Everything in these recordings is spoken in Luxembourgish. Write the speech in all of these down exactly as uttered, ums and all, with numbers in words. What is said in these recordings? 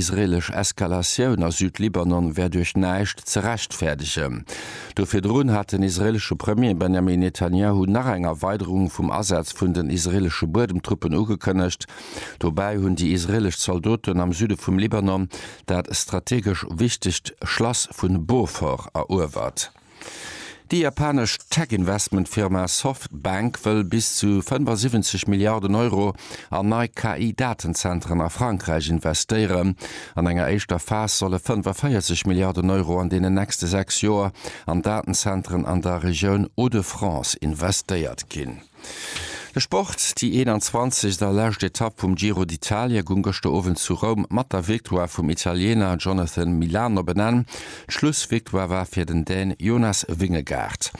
Israelesch Eskalatioun a Südlibanon wär duerch näischt ze rechtfäerdegen. Do virdrun hat den israeelesche Premier Benjamin Netanjahu nach eng Erweiderung vum Asaz vun den israeelesche Buedemtruppen ugekënnegt. Dobäi hunn déi israeelesch Zaldoten am Süde vum Libanon dat strategesch wichtegt Schlass vu Beaufort eruewert. Déi japanesch Tech-Investment-Firma Softbank wëll bis zu fënnefasiwwenzeg Milliarden Euro an nei K I-Datenzentren a Frankräich investéieren. An enger éischter Phas solle fënnefaféierzeg Milliarden Euro an deenen nächste sechs Joer an Datenzentren an der Regioun Hauts-de-France investéiert ginn. De Sport, Déi eenanzwanzegst a lescht Etapp vum Giro d'Italia goung gëschter Owend zu Roum mat der Victoire vum Italiener Jonathan Milan op en Enn. D'Schlussvictoire war fir den Dän Jonas Vingegaard.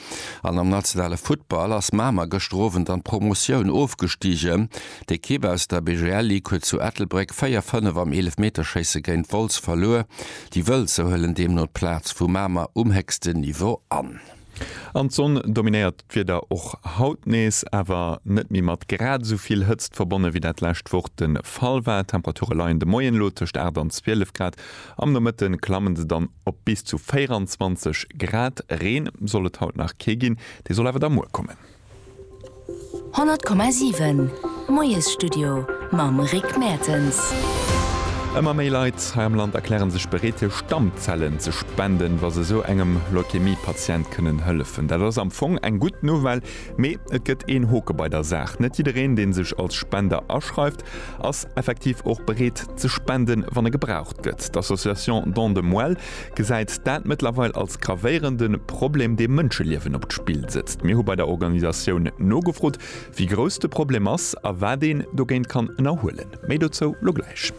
An am nationale Futtball ass Mamer gëschter Owend an d'Promotioun ofgestigen. D'Ekipp aus der B G L Ligue huet zu Ettelbréck véier, fënnef am Eelefmeterschéisse géint Wolz verluer. Déi Wëlzer huelen deemno d'Plaz vu Mamer um héchsten Niveau an. An d'Sonn dominéiert d'Wieder och haut nees, awer net méi mat grad esou vill Hëtzt verbonne wéi dat lescht Woch de Fall war. D'Temperature leien de Moien elo tëscht aacht an zwielef Grad, am Nomëtte klammen se dann op bis zu véieranzwanzeg Grad. Reen soll et haut nach kee ginn, dee soll awer da muer kommen. honnert Komma siwen Moiesstudio mam Rick Mertens. Ëmmer méi Leit hei am Land erkläre sech bereet, hir Stammzellen ze spenden, wa se esou engem Leukämie-Patient kënnen hëllefen. Dat ass am Fong eng gutt Nouvelle, mee et gëtt een Hoke bei der Saach, Net jiddereen, dee sech als Spender aschreift, ass effektiv och bereet ze spenden, wann e gebraucht gëtt. D'Association Don de Moelle gesäit dat mëttlerweil als gravéierende Problem, dee Mënscheliewen op d'Spill setzt. Mir hu bei der Organisatioun nogefrot, wéi grouss de Problem ass a wat een dogéint kann ënnerhuelen. Méi dozou lo gläich.